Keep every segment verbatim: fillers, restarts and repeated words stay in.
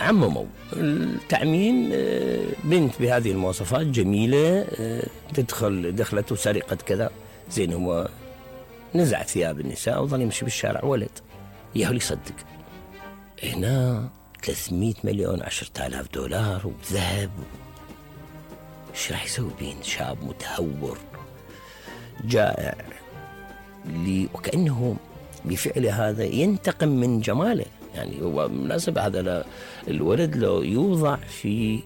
عمموا التعميم. بنت بهذه المواصفات جميلة تدخل دخلت وسرقت كذا، زين هو نزع ثياب النساء وظل يمشي بالشارع ولد يهو يصدق. هنا ثلاثمئة مليون عشرة آلاف دولار وذهب، ايش راح يسوي بين شاب متهور جائع لي وكأنه بفعله هذا ينتقم من جماله. يعني هو مناسبة هذا الولد لو يوضع في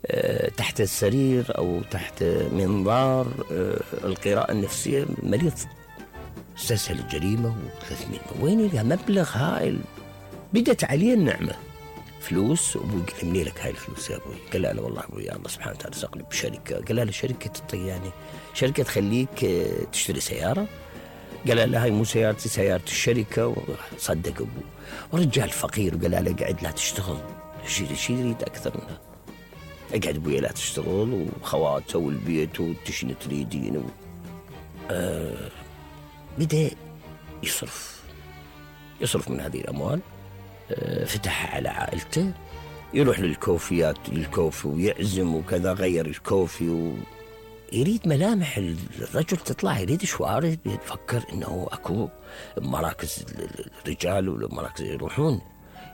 أه تحت السرير أو تحت منظار أه القراءة النفسية مريض. استسهل الجريمة وثلاثمئة وين لها مبلغ هائل. بدت عليه النعمة فلوس، وابوي قال منين لك هاي الفلوس يا ابوي؟ قال لا والله ابوي الله سبحانه وتعالى رزقني بشركة. قال لا شركة الطيانة، شركة تخليك تشتري سيارة. قال لا هاي مو سيارتي، سيارة الشركة. وصدق ابوه ورجال فقير وقال لا قاعد لا تشتغل، شيء شيء يريد اكثر منها. اقعد ابوي لا تشتغل وخواته والبيت وتشني تريدين و... آه بدأ يصرف يصرف من هذه الأموال. آه فتح على عائلته، يروح للكوفيات للكوفي ويعزم وكذا، غير الكوفي ويريد ملامح الرجل تطلع، يريد شوارع، يفكر انه اكو مراكز الرجال والمراكز يروحون،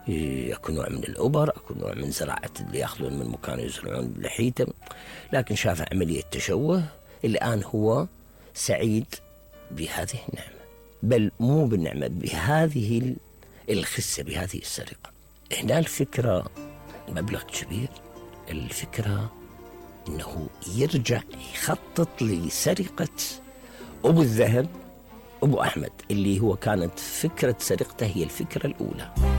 اكو نوع من الأوبر، اكو نوع من زراعة اللي ياخذون من مكان يزرعون لحيته. لكن شاف عملية تشوه. الآن هو سعيد بهذه النعمة، بل مو بالنعمة، بهذه الخسة، بهذه السرقة. هنا الفكرة مبلغ كبير. الفكرة انه يرجع يخطط لسرقة ابو الذهب ابو احمد، اللي هو كانت فكرة سرقته هي الفكرة الاولى.